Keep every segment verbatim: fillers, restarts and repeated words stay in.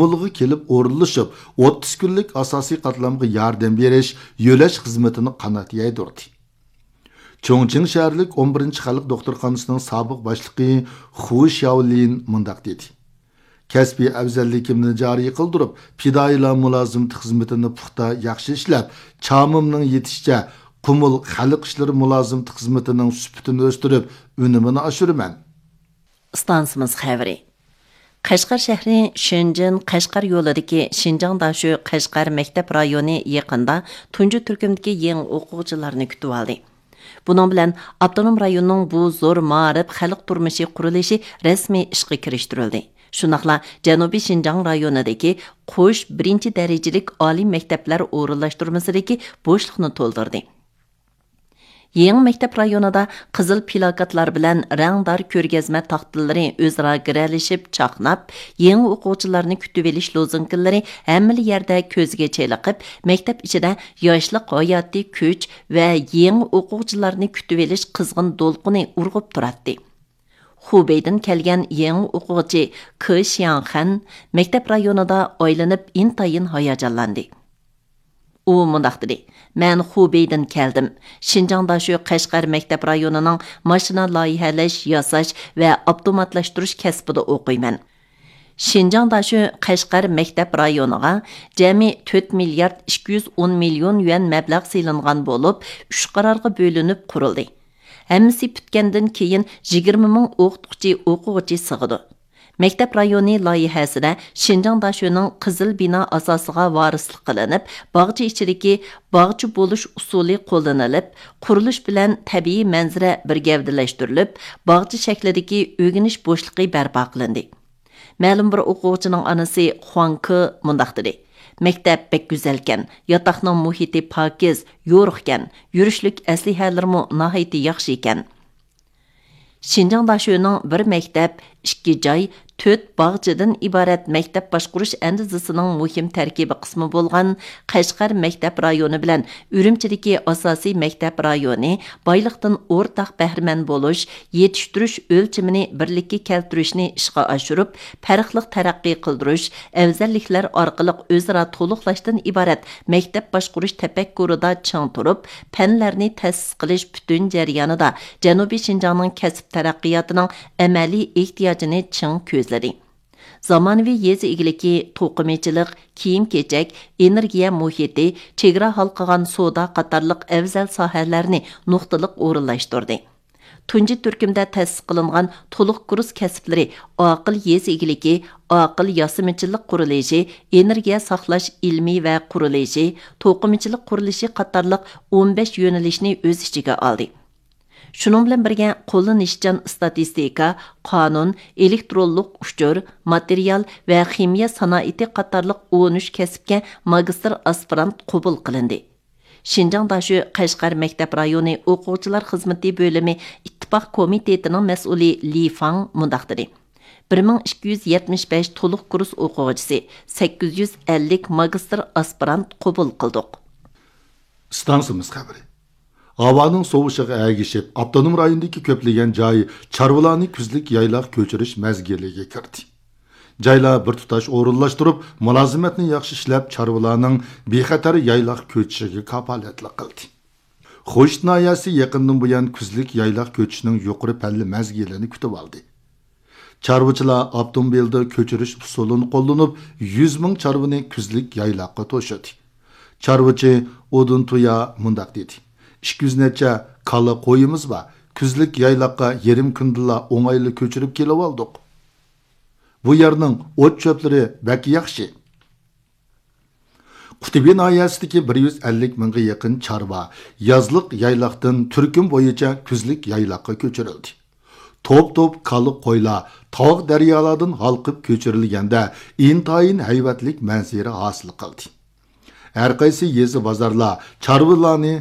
كابۇلغا كېلىپ ئورۇنلىشىپ، ئوتتۇز كۈنلۈك ئاساسىي قاتلامغا ياردەم بېرىش، يۆلەش خىزمىتىنى قانات يايدۇردى. چۇڭچىڭ شەھەرلىك ئون بىرىنچى خەلق دوختۇرخانىسىنىڭ سابىق باشلىقى خۇ شياۋلىن مۇنداق دېدى: كەسپىي ئەۋزەللىكىمنى جارى قىلدۇرۇپ، پىدائىيلار مۇلازىمىتى خىزمىتىنى پۇختا ياخشى ئىشلەپ، چامىمنىڭ يېتىشىچە قۇمۇل خەلق ئىشلىرى مۇلازىمىتى خىزمىتىنىڭ سۈپىتىنى ئۆستۈرۈپ، ئۈنۈمىنى ئاشۇرىمەن. ئىستانسىمىز خەۋىرى. قەشقەر شەھىرى شېنجېن قەشقەر يولىدىكى شىنجاڭ داشۆ قەشقەر مەكتەپ رايونى يېقىندا تۇنجى تۈركۈمدىكى يېڭى ئوقۇغۇچىلارنى كۈتۈۋالدى. بۇنىڭ بىلەن ئاپتونوم رايوننىڭ بۇ زور مائارىپ خەلق تۇرمۇشى قۇرۇلۇشى رەسمىي ئىشقا كىرىشتۈرۈلدى. شۇنداقلا جەنۇبىي شىنجاڭ رايونىدىكى قوش بىرىنچى دەرىجىلىك ئالىي مەكتەپلەر ئورۇنلاشتۇرمىسىدىكى بوشلۇقنى تولدۇردى. يېڭى مەكتەپ رايونىدا قىزىل پىلاكاتلار بىلەن رەڭدار كۆرگەزمە تاختىلىرى ئۆزئارا گىرەلىشىپ چاقناپ، يېڭى ئوقۇغۇچىلارنى كۈتۈۋېلىش لوزۇنكىلىرى ھەممىلا يەردە كۆزگە چېلىقىپ، مەكتەپ ئىچىدە ياشلىق ھاياتىي كۈچ ۋە يېڭى ئوقۇغۇچىلارنى كۈتۈۋېلىش قىزغىن دولقۇنى ئۇرغۇپ تۇراتتى. خۇبېيدىن كەلگەن يېڭى ئوقۇغۇچى كې شياڭخەن مەكتەپ رايونىدا ئايلىنىپ ئىنتايىن ھاياجانلاندى. ئۇ مۇنداق دېدى: مەن خۇبېيدىن كەلدىم. شىنجاڭ داشۆ قەشقەر مەكتەپ رايونىنىڭ ماشىنا لايىھەلەش، ياساش ۋە ئاپتوماتلاشتۇرۇش كەسپىدە ئوقۇيمەن. شىنجاڭ داشۆ قەشقەر مەكتەپ رايونىغا جەمئىي تۆت مىليارد ئىككى يۈز ئون مىليون يۈەن مەبلەغ سېلىنغان بولۇپ، ئۈچ قارارغا بۆلۈنۈپ قۇرۇلدى. ھەممىسى پۈتكەندىن كېيىن يىگىرمە مىڭ ئوقۇتقۇچى، ئوقۇغۇچى سىغىدۇ. مەكتەپ رايونى لايىھەسىدە شىنجاڭ داشۆنىڭ قىزىل بىنا ئاساسىغا ۋارىسلىق قىلىنىپ، باغچە ئىچىدىكى باغچە بولۇش ئۇسۇلى قوللىنىلىپ، قۇرۇلۇش بىلەن تەبىئىي مەنزىرە بىر گەۋدىلەشتۈرۈلۈپ، باغچە شەكلىدىكى ئۆگىنىش بوشلۇقى بەرپا قىلىندى. مەلۇم بىر ئوقۇغۇچىنىڭ ئانىسى خۇاڭ كې مۇنداق دېدى: مەكتەپ بەك گۈزەلكەن، ياتاقنىڭ مۇھىتى پاكىز، يورۇقكەن، يۈرۈشلۈك ئەسلىھەلىرىمۇ ناھايىتى ياخشى ئىكەن. شىنجاڭ داشۆنىڭ بىر مەكتەپ، ئىككى جاي، تۆت باغچىدىن ئىبارەت مەكتەپ باشقۇرۇش ئەندىزىسىنىڭ مۇھىم تەركىبىي قىسمى بولغان قەشقەر مەكتەپ رايونى بىلەن ئۈرۈمچىدىكى ئاساسىي مەكتەپ رايونى بايلىقتىن ئورتاق بەھرىمەن بولۇش، يېتىشتۈرۈش ئۆلچىمىنى بىرلىككە كەلتۈرۈشنى ئىشقا ئاشۇرۇپ، پەرقلىق تەرەققىي قىلدۇرۇش، ئەۋزەللىكلەر ئارقىلىق ئۆزئارا تولۇقلاشتىن ئىبارەت مەكتەپ باشقۇرۇش تەپەككۇرىدا چىڭ تۇرۇپ، پەنلەرنى تەسىس قىلىش پۈتۈن جەريانىدا جەنۇبىي شىنجاڭنىڭ كەسىپ تەرەققىياتىنىڭ ئەمەلىي ئېھتىياجىنى چىڭ كۆزلىدى. زامانىۋى يېزا ئىگىلىكى، توقۇمىچىلىق، كىيىم-كېچەك، ئېنېرگىيە مۇھىتى، چېگرا ھالقىغان سودا قاتارلىق ئەۋزەل ساھەلەرنى نۇقتىلىق ئورۇنلاشتۇردى. تۇنجى تۈركۈمدە تەسىس قىلىنغان تولۇق كۇرس كەسىپلىرى ئاقىل يېزا ئىگىلىكى، ئاقىل ياسىمىچىلىق قۇرۇلۇشى، ئېنېرگىيە ساقلاش ئىلمى ۋە قۇرۇلۇشى، توقۇمىچىلىق قۇرۇلۇشى قاتارلىق ئون بەش يۆنىلىشنى ئۆز ئىچىگە ئالدى. شۇنىڭ بىلەن بىرگە، قوللىنىشچان ئىستاتىستىكا، قانۇن، ئېلېكترونلۇق ئۇچۇر، ماتېرىيال ۋە خىمىيە سانائىتى قاتارلىق ئون ئۈچ كەسىپكە ماگىستىر ئاسپىرانت قوبۇل قىلىندى. شىنجاڭ داشۆ قەشقەر مەكتەپ رايونى ئوقۇغۇچىلار خىزمىتى بۆلۈمى ئىتتىپاق كومىتېتىنىڭ مەسئۇلى لى فاڭ مۇنداق دېدى: بىر مىڭ ئىككى يۈز يەتمىش بەش تولۇق كۇرس ئوقۇغۇچىسى، سەككىز يۈز ئەللىك ماگىستىر ئاسپىرانت قوبۇل قىلدۇق. ئىستانسىمىز خەۋىرى. ھاۋانىڭ سوۋۇشىغا ئەگىشىپ، ئاپتونوم رايوندىكى كۆپلىگەن جاي چارۋىلارنى كۈزلۈك يايلاق كۆچۈرۈش مەزگىلىگە كىردى. جايلار بىر تۇتاش ئورۇنلاشتۇرۇپ، مۇلازىمەتنى ياخشى ئىشلەپ، چارۋىلارنىڭ بىخەتەر يايلاق كۆچۈشىگە كاپالەتلىك قىلدى. خوشۇت ناھىيەسى يېقىندىن بۇيان كۈزلۈك يايلاق كۆچۈشنىڭ يۇقىرى پەللە مەزگىلىنى كۈتۈۋالدى. چارۋىچىلار ئاپتوموبىلدا كۆچۈرۈش ئۇسۇلىنى قوللىنىپ، يۈز مىڭ چارۋىنى كۈزلۈك يايلاققا توشۇدى. چارۋىچى ئودۇن تۇيا مۇنداق دېدى: ئىككى يۈز نەچچە كالا قويىمىز بار، كۈزلۈك يايلاققا يېرىم كۈندىلا ئوڭايلا كۆچۈرۈپ كېلىۋالدۇق. بۇ يەرنىڭ ئوت چۆپلىرى بەك ياخشى. قۇتۇبى ناھىيەسىدىكى بىر يۈز ئەللىك مىڭغا يېقىن چارۋا يازلىق يايلاقتىن تۈركۈم بويىچە كۈزلۈك يايلاققا كۆچۈرۈلدى. توپ-توپ كالا قويلار تاغ دەريالاردىن ھالقىپ كۆچۈرۈلگەندە، ئىنتايىن ھەيۋەتلىك مەنزىرە ھاسىل قىلدى. ھەرقايسى يېزا بازارلار چارۋىلارنى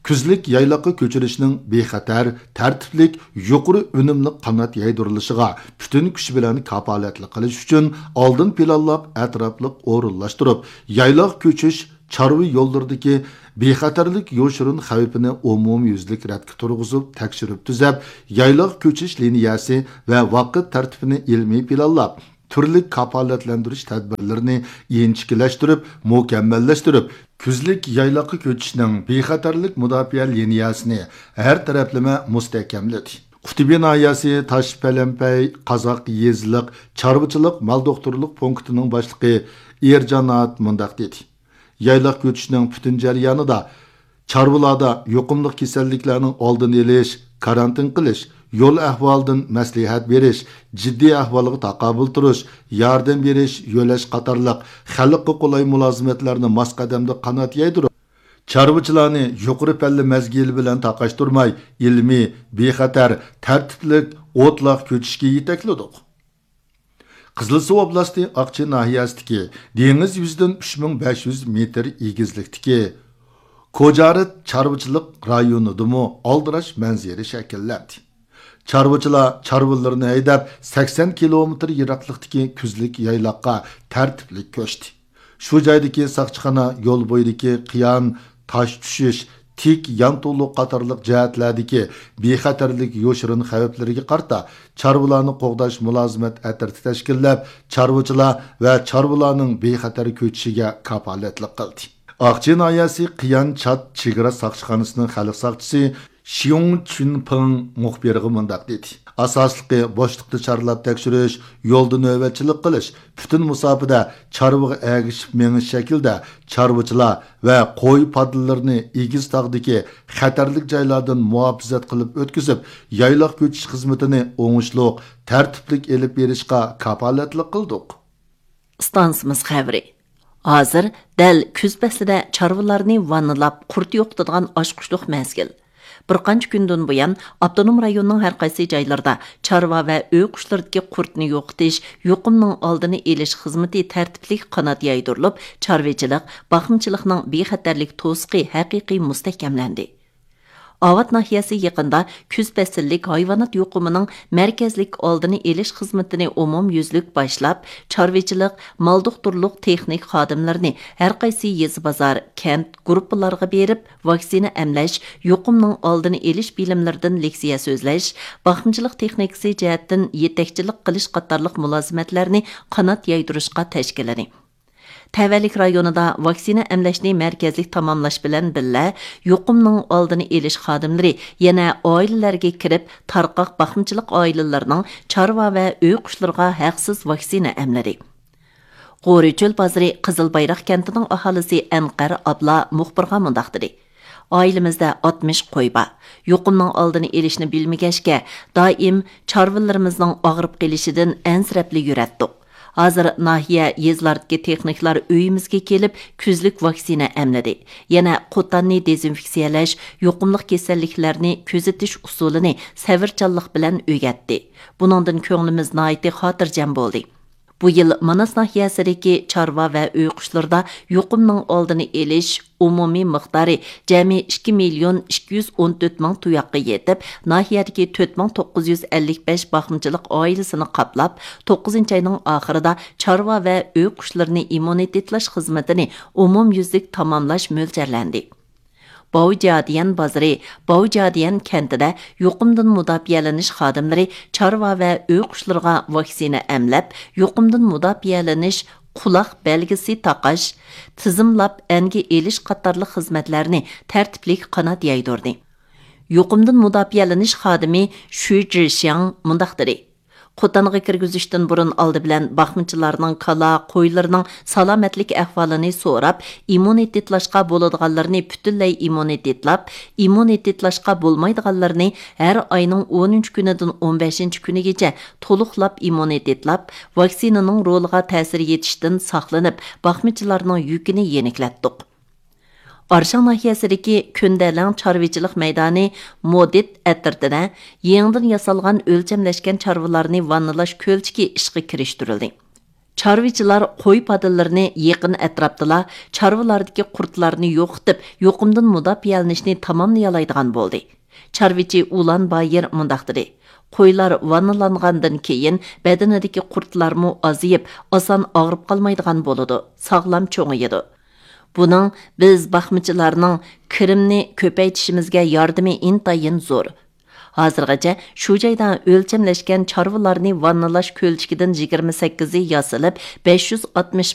كۈزلۈك يايلاققا كۆچۈرۈشنىڭ بىخەتەر، تەرتىپلىك، يۇقىرى ئۈنۈملۈك قانات يايدۇرۇلۇشىغا پۈتۈن كۈچ بىلەن كاپالەتلىك قىلىش ئۈچۈن ئالدىن پىلانلاپ، ئەتراپلىق ئورۇنلاشتۇرۇپ، يايلاق كۆچۈش، چارۋا يوللىرىدىكى بىخەتەرلىك يوشۇرۇن خەۋپىنى ئومۇميۈزلۈك رەتكە تۇرغۇزۇپ، تەكشۈرۈپ تۈزەپ، يايلاق كۆچۈش لىنىيەسى ۋە ۋاقىت تەرتىپىنى ئىلمىي پىلانلاپ، تۈرلۈك كاپالەتلەندۈرۈش تەدبىرلىرىنى ئىنچىكىلەشتۈرۈپ، مۇكەممەللەشتۈرۈپ، كۈزلۈك يايلاققا كۆچۈشنىڭ بىخەتەرلىك مۇداپىئە لىنىيەسىنى ھەر تەرەپلىمە مۇستەھكەملىدى. قۇتۇبى ناھىيەسى تاش پەلەمپەي قازاق يېزىلىق چارۋىچىلىق مال دوختۇرلۇق پونكىتىنىڭ باشلىقى ئېرجانات مۇنداق دېدى: يايلاق كۆچۈشنىڭ پۈتۈن جەريانىدا چارۋىلاردا يۇقۇملۇق كېسەللىكلەرنىڭ ئالدىنى ئېلىش، كارانتىن قىلىش، يول ئەھۋالىدىن مەسلىھەت بېرىش، جىددىي ئەھۋالغا تاقابىل تۇرۇش، ياردەم بېرىش، يۆلەش قاتارلىق خەلققە قولاي مۇلازىمەتلەرنى ماس قەدەمدە قانات يايدۇرۇپ، چارۋىچىلارنى يۇقىرى پەللە مەزگىلى بىلەن تاقاشتۇرماي، ئىلمىي، بىخەتەر، تەرتىپلىك، ئوتلاق كۆچۈشكە يېتەكلىدۇق. قىزىلسۇ ئوبلاستى ئاقچى ناھىيەسىدىكى دېڭىز يۈزىدىن ئۈچ مىڭ بەش يۈز مېتىر ئېگىزلىكتىكى كوجارىت چارۋىچىلىق رايونىدىمۇ ئالدىراش مەنزىرە شەكىللەندى. چارۋىچىلار چارۋىلىرىنى ھەيدەپ، سەكسەن كىلومېتىر يىراقلىقتىكى كۈزلۈك يايلاققا تەرتىپلىك كۆچتى. شۇ جايدىكى ساقچىخانا يول بويىدىكى قىيان، تاش چۈشۈش، تىك يانتۇلۇق قاتارلىق جەھەتلەردىكى بىخەتەرلىك يوشۇرۇن خەۋپلىرىگە قارىتا چارۋىلارنى قوغداش مۇلازىمەت ئەترىتى تەشكىللەپ، چارۋىچىلار ۋە چارۋىلارنىڭ بىخەتەر كۆچۈشىگە كاپالەتلىك قىلدى. ئاقچى ناھىيەسى قىيان چات چېگرا ساقچىخانىسىنىڭ خەلق ساقچىسى شيۇڭ چۈنپىڭ مۇخبىرغا مۇنداق دېدى: ئاساسلىقى بوشلۇقتا چارلاپ تەكشۈرۈش، يولدا نۆۋەتچىلىك قىلىش، پۈتۈن مۇساپىدە چارۋىغا ئەگىشىپ مېڭىش شەكلىدە چارۋىچىلار ۋە قوي پادىلىرىنى ئېگىز تاغدىكى خەتەرلىك جايلاردىن مۇھاپىزەت قىلىپ ئۆتكۈزۈپ، يايلاق كۆچۈش خىزمىتىنى ئوڭۇشلۇق، تەرتىپلىك ئېلىپ بېرىشقا كاپالەتلىك قىلدۇق. ئىستانسىمىز خەۋىرى. ھازىر دەل كۈز پەسلىدە چارۋىلارنى ۋاننىلاپ، قۇرت يوقىتىدىغان ئاچقۇچلۇق مەزگىل. بىر قانچە كۈندىن بۇيان، ئاپتونوم رايوننىڭ ھەر قايسى جايلىرىدا چارۋا ۋە ئۆي قۇشلىرىدىكى قۇرتنى يوقىتىش، يۇقۇمنىڭ ئالدىنى ئېلىش خىزمىتى تەرتىپلىك قانات يايدۇرۇلۇپ، چارۋىچىلىق، باقمىچىلىقنىڭ بىخەتەرلىك توسۇقى ھەقىقىي مۇستەھكەملەندى. ئاۋات ناھىيەسى يېقىندا كۈز پەسىللىك ھايۋانات يۇقۇمىنىڭ مەركەزلىك ئالدىنى ئېلىش خىزمىتىنى ئومۇميۈزلۈك باشلاپ، چارۋىچىلىق، مال دوختۇرلۇق تېخنىكا خادىملىرىنى ھەر قايسى يېزا، بازار، كەنت گۇرۇپپىلارغا بېرىپ، ۋاكسىنا ئەملەش، يۇقۇمنىڭ ئالدىنى ئېلىش بىلىملىرىدىن لېكسىيە سۆزلەش، باقمىچىلىق تېخنىكىسى جەھەتتىن يېتەكچىلىك قىلىش قاتارلىق مۇلازىمەتلەرنى قانات يايدۇرۇشقا تەشكىللىدى. تەۋەلىك رايونىدا ۋاكسىنا ئەملەشنى مەركەزلىك تاماملاش بىلەن بىللە، يۇقۇمنىڭ ئالدىنى ئېلىش خادىملىرى يەنە ئائىلىلەرگە كىرىپ، تارقاق باقمىچىلىق ئائىلىلىرىنىڭ چارۋا ۋە ئۆي قۇشلىرىغا ھەقسىز ۋاكسىنا ئەملىدى. غورى چۆل بازىرى قىزىل بايراق كەنتىنىڭ ئاھالىسى ئەنقەر ئابلا مۇخبىرغا مۇنداق دېدى: ئائىلىمىزدە ئاتمىش قوي بار. يۇقۇمنىڭ ئالدىنى ئېلىشنى بىلمىگەچكە، دائىم چارۋىلىرىمىزنىڭ ئاغرىپ قېلىشىدىن ئەنسىرەپلا يۈرەتتۇق. ھازىر ناھىيە، يېزىلاردىكى تېخنىكلار ئۆيىمىزگە كېلىپ، كۈزلۈك ۋاكسىنا ئەملىدى. يەنە قوتاننى دېزىنفېكسىيەلەش، يۇقۇملۇق كېسەللىكلەرنى كۆزىتىش ئۇسۇلىنى سەۋرچانلىق بىلەن ئۆگەتتى. بۇنىڭدىن كۆڭلىمىز ناھايىتى خاتىرجەم بولدى. بۇ يىل ماناس ناھىيەسىدىكى چارۋا ۋە ئۆي قۇشلىرىدا يۇقۇمنىڭ ئالدىنى ئېلىش ئومۇمىي مىقدارى جەمئىي ئىككى مىليون ئىككى يۈز ئون تۆت مىڭ تۇياققا يېتىپ، ناھىيەدىكى تۆت مىڭ توققۇز يۈز ئەللىك بەش باقمىچىلىق ئائىلىسىنى قاپلاپ، توققۇزىنچى ئاينىڭ ئاخىرىدا چارۋا ۋە ئۆي قۇشلىرىنى ئىممۇنىتېتلاش خىزمىتىنى ئومۇميۈزلۈك تاماملاش مۆلچەرلەندى. باۋجيادىيەن بازىرى، باۋجيادىيەن كەنتىدە يۇقۇمدىن مۇداپىئەلىنىش خادىملىرى چارۋا ۋە ئۆي قۇشلىرىغا ۋاكسىنا ئەملەپ، يۇقۇمدىن مۇداپىئەلىنىش، قۇلاق بەلگىسى تاقاش، تىزىملاپ ئەنگە ئېلىش قاتارلىق خىزمەتلەرنى تەرتىپلىك قانات يايدۇردى. يۇقۇمدىن مۇداپىئەلىنىش خادىمى شۈ جىشياڭ مۇنداق دېدى: قوتانغا كىرگۈزۈشتىن بۇرۇن ئالدى بىلەن باقمىچىلارنىڭ كالا، قويلىرىنىڭ سالامەتلىك ئەھۋالىنى سوراپ، ئىممۇنىتېتلاشقا بولىدىغانلىرىنى پۈتۈنلەي ئىممۇنىتېتلاپ، ئىممۇنىتېتلاشقا بولمايدىغانلىرىنى ھەر ئاينىڭ ئونىنچى كۈنىدىن ئون بەشىنچى كۈنىگىچە تولۇقلاپ ئىممۇنىتېتلاپ، ۋاكسىنىنىڭ رولىغا تەسىر يېتىشتىن ساقلىنىپ، باقمىچىلارنىڭ يۈكىنى يېنىكلەتتۇق. ئارشاڭ ناھىيەسىدىكى كۈندەلەڭ چارۋىچىلىق مەيدانى مودىت ئەترىتىدە يېڭىدىن ياسالغان ئۆلچەملەشكەن چارۋىلارنى ۋاننىلاش كۆلچىكى ئىشقا كىرىشتۈرۈلدى. چارۋىچىلار قوي پادىلىرىنى يېقىن ئەتراپتىلا چارۋىلاردىكى قۇرتلارنى يوقىتىپ، يۇقۇمدىن مۇداپىئەلىنىشنى تاماملىيالايدىغان بولدى. چارۋىچى ئۇلان بايىر مۇنداق دېدى: قويلار ۋاننىلانغاندىن كېيىن، بەدىنىدىكى قۇرتلارمۇ ئازىيىپ، ئاسان ئاغرىپ قالمايدىغان بولىدۇ، ساغلام چوڭىيىدۇ. بۇنىڭ بىز باقمىچىلارنىڭ كىرىمنى كۆپەيتىشىمىزگە ياردىمى ئىنتايىن زور. ھازىرغىچە شۇ جايدا ئۆلچەملەشكەن چارۋىلارنى ۋاننىلاش كۆلچىكىدىن يىگىرمە سەككىزى ياسىلىپ، بەش يۈز ئاتمىش